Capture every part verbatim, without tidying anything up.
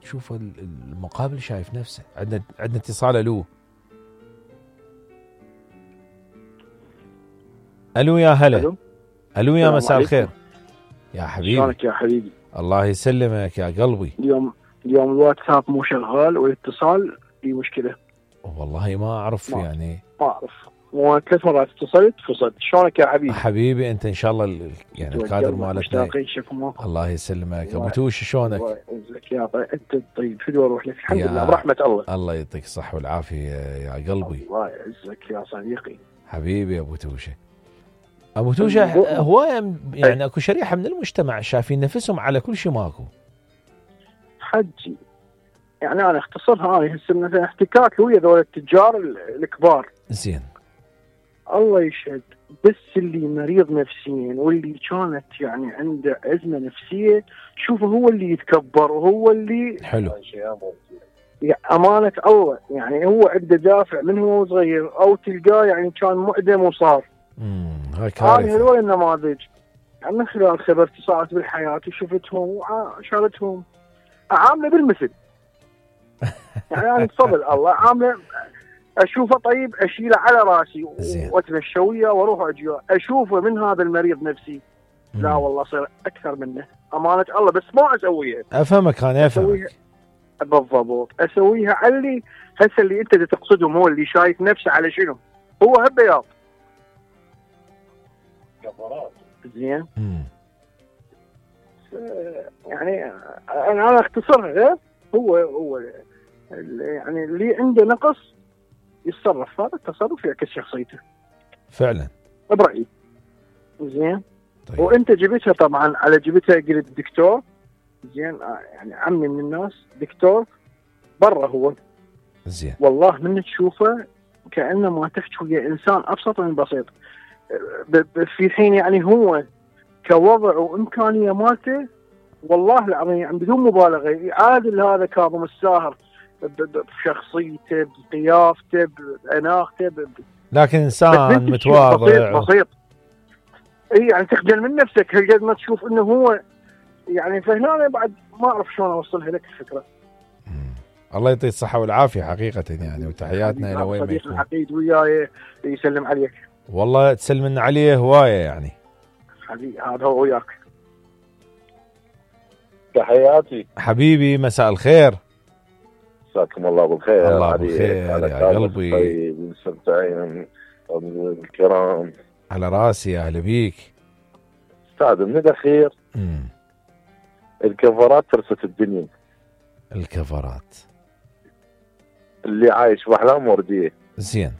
وتشوف المقابل شايف نفسه. عندنا عندنا اتصال. الو الو يا هلا. الو الو يا مساء الخير يا حبيبي. شلونك يا حبيبي؟ الله يسلمك يا قلبي. اليوم اليوم الواتساب مو شغال والاتصال في مشكله. والله ما اعرف ما يعني ما اعرف، ثلاث مرات اتصلت فصلت. شلونك يا حبيبي؟ حبيبي انت ان شاء الله ال- يعني الكادر مالتنا. مشتاقين شكم. الله يسلمك ابو توش. شلونك؟ الله يعزك يا طيب. انت طيب شو اروح لك؟ الحمد يا- لله برحمه الله. الله يعطيك الصحه والعافيه يا قلبي. الله يعزك يا صديقي. حبيبي ابو توشه. ابو توشه هوايه يعني اكو شريحه من المجتمع شايفين نفسهم على كل شيء ماكو. حجي يعني انا اختصرها، انا هسه مثلا احتكاك ويا ذول التجار الكبار. زين. الله يشهد، بس اللي مريض نفسيا واللي كانت يعني عنده ازمه نفسيه شوفه هو اللي يتكبر وهو اللي حلو. يعني امانه الله، يعني هو عنده دافع من هو صغير، او تلقاه يعني كان معدم وصار. امم هاي هذه كارثه. هذول النماذج يعني من خلال خبرتي صارت بالحياه وشفتهم وشارتهم عامله بالمثل. يعني انا بفضل الله عامله اشوفه طيب اشيله على راسي واتمشى وياه واروح واجي اشوفه من هذا المريض نفسي. مم. لا والله صير اكثر منه امانه الله، بس ما اسويها. افهمك انا اسويها افهمك. بالضبط، اسويها على اللي هسه اللي انت تقصدهم، هو اللي شايف نفسه على شنو؟ هو هالبياض كفرات. زين. امم يعني انا انا اختصرها. هو هو يعني اللي عنده نقص يتصرف، هذا التصرف يعكس شخصيته فعلا برأيي. زين. طيب. وانت جبتها طبعا على جبتها قلت دكتور. زين. يعني عمي من الناس دكتور برا هو. زين. والله من تشوفه كأنه ما تحكي ويا انسان ابسط من بسيط. ب- ب- في حين يعني هو كوضع وامكانيه مالته والله العظيم يعني بدون مبالغه يعادل هذا كاظم الساهر ب- ب- بشخصيته بقيافته باناقته ب- لكن بس انسان انت متواضع. بسيط بسيط. اي يعني تخجل من نفسك هالقد ما تشوف انه هو يعني. فهنا بعد ما اعرف شلون اوصلها لك الفكره. مم. الله يعطيه الصحه والعافيه حقيقه يعني، وتحياتنا الى وين ما صديق يكون. العقيد وياي يسلم عليك. والله تسلم لنا عليه هوايه يعني. حبيبي هذا هو وياك. تحياتي حبيبي مساء الخير. مساكم الله بالخير. الله بالخير يا قلبي. طيب مستمتعين الكرام. على راسي يا اهلا بيك. استاذ من الاخير امم الكفرات ترست الدنيا. الكفرات اللي عايش باحلام ورديه. زين.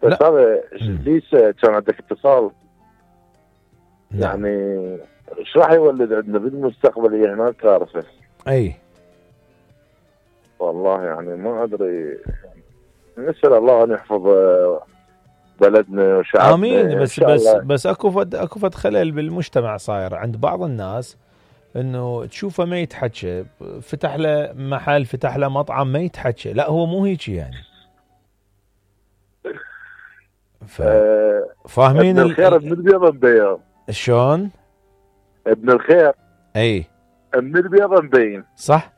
بس لا. هذا مم. ليش كان عندك اتصال؟ نعم. يعني ايش راح يولد عندنا بالمستقبل؟ هي هناك كارثه. اي والله يعني ما ادري. نسال الله ان يحفظ بلدنا وشعبنا. امين. إن بس شاء بس الله. بس اكو فد اكو فد خلل بالمجتمع صاير عند بعض الناس، انه تشوفه ما يتحكى، فتح له محل فتح له مطعم ما يتحكى. لا هو مو هيك يعني. ف... آه، فاهمين ابن الخير ابن البيض مبين. شلون؟ ابن الخير اي ابن البيض مبين. صح.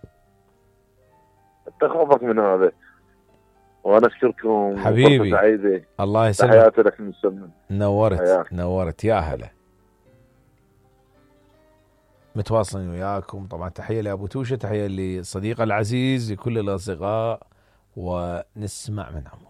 تخافك من هذا. وانا اشكركم حبيبي. سعيده. الله يسلمك. تحياتي لك من السمن. نورت حياك. نورت يا هلا. متواصلين وياكم طبعا. تحيه لابو توشه، تحيه لصديقه العزيز، لكل الاصدقاء، ونسمع منهم.